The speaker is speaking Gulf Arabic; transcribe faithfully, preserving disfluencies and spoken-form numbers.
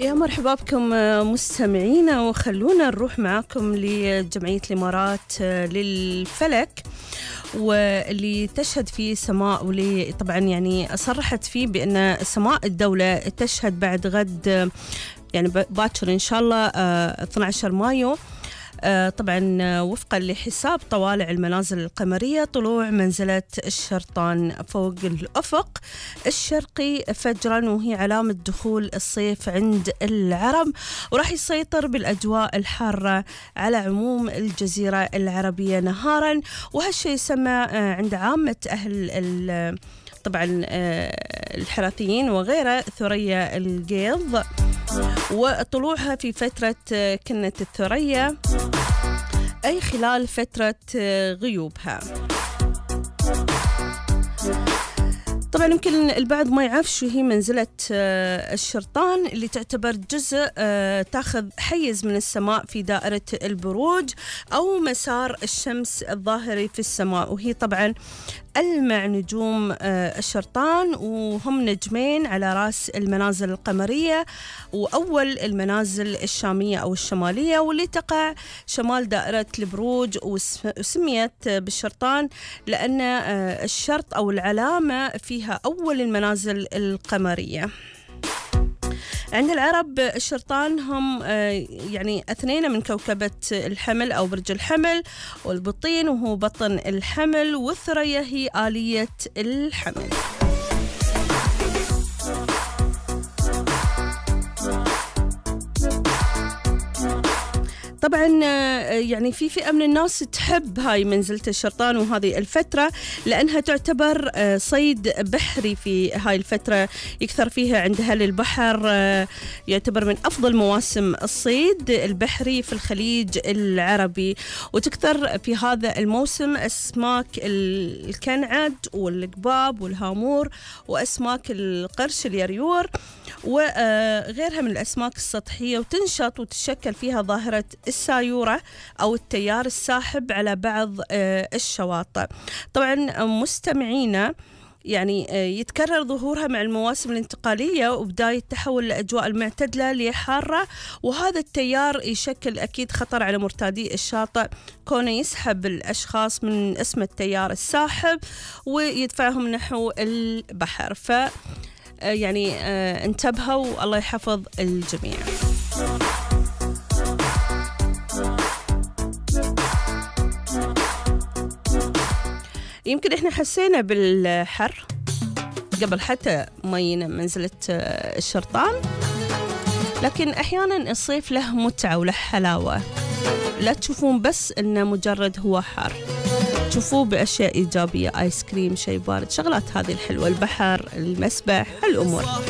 يا مرحبا بكم مستمعينا، وخلونا نروح معاكم لجمعية الإمارات للفلك، واللي تشهد فيه سماء، واللي طبعا يعني صرحت فيه بأن سماء الدولة تشهد بعد غد يعني باكر إن شاء الله اثني عشر مايو طبعا وفقا لحساب طوالع المنازل القمرية طلوع منزلة الشرطان فوق الأفق الشرقي فجرا، وهي علامة دخول الصيف عند العرب، وراح يسيطر بالأجواء الحارة على عموم الجزيرة العربية نهارا. وهالشي يسمى عند عامة أهل طبعا الحراثيين وغيره ثريا القيض، وطلوعها في فترة كنة الثريا أي خلال فترة غيوبها. طبعا يمكن البعض ما يعرف شو هي منزلة الشرطان، اللي تعتبر جزء تاخذ حيز من السماء في دائرة البروج أو مسار الشمس الظاهري في السماء، وهي طبعا ألمع نجوم الشرطان، وهم نجمين على رأس المنازل القمرية وأول المنازل الشامية أو الشمالية، واللي تقع شمال دائرة البروج، وسميت بالشرطان لأن الشرط أو العلامة فيها أول المنازل القمرية. عند العرب الشرطان هم يعني اثنين من كوكبة الحمل أو برج الحمل، والبطين وهو بطن الحمل، والثريا هي آلية الحمل. طبعا يعني في فئة من الناس تحب هاي منزلة الشرطان وهذه الفترة، لأنها تعتبر صيد بحري في هاي الفترة، يكثر فيها عند أهل البحر، يعتبر من أفضل مواسم الصيد البحري في الخليج العربي، وتكثر في هذا الموسم أسماك الكنعد والقباب والهامور وأسماك القرش اليريور وغيرها من الأسماك السطحية، وتنشط وتشكل فيها ظاهرة السايورة أو التيار الساحب على بعض الشواطئ. طبعا مستمعينا يعني يتكرر ظهورها مع المواسم الانتقالية وبداية تحول الأجواء المعتدلة لحارة، وهذا التيار يشكل أكيد خطر على مرتادي الشاطئ، كونه يسحب الأشخاص من اسم التيار الساحب ويدفعهم نحو البحر. ف يعني انتبهوا، الله يحفظ الجميع. يمكن احنا حسينا بالحر قبل حتى ما ينا منزلة الشرطان، لكن احيانا الصيف له متعة وله حلاوة، لا تشوفون بس انه مجرد هو حر، تشوفوه بأشياء إيجابية، آيس كريم، شيء بارد، شغلات هذه الحلوة، البحر، المسبح، هالأمور.